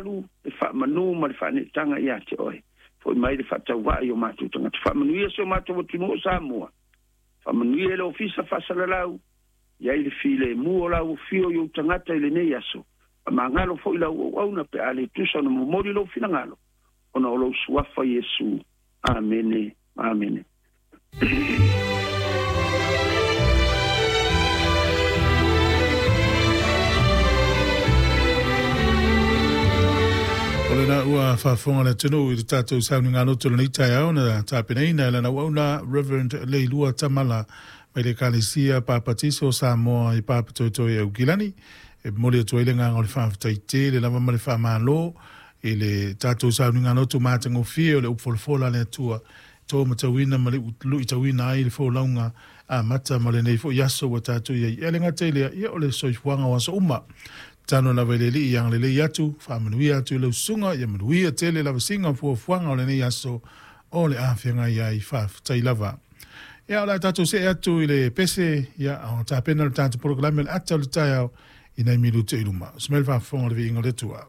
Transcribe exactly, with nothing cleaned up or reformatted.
mamalu, le faamanu ma le faaneetaga ia te oe. Fo'i mai le faatauvaa i o matou tagata. Faamanuia si o matou atunuu o Samoa. Faamanuia le ofisa faasalalau, i ai le filemu o lau afio i ou tagata i lenei aso. Faamagalo fo'i lau auauna pe a le tusa ona momoli lou finagalo, ona o lou suafa Iesu. Amene, amene. O lena ua faafofoga le atunuu i le tatou sauniga loto lenei taeao na tapenaina e lana auauna Reverend Leilua Tamala mai le Ekalesia Papatiso o Samoa i Papatoetoe Aukilani. E momoli atu ai le agaga o le faafetai tele lava ma le faamalo i le tatou sauniga loto matagofie o le upu folafola a le Atua to matauina ma le luitauina ai le folauga amata ma lenei fo'i aso ua tatou i ai. E le gata i lea, ia o le soifuaga o aso uma. Tano lava i le Alii ia agalelei atu, faamanuia atu i lau susuga, ia manuia tele lavasiga fuafuaga o lenei aso o le a feagai ai faafetai lava. Ia o le a tatou see atu i le pese, ia o tapena le tatou polokalame le ata o le taeao i nai minute i luma. Smel faafofoga o le viiga o le Atua.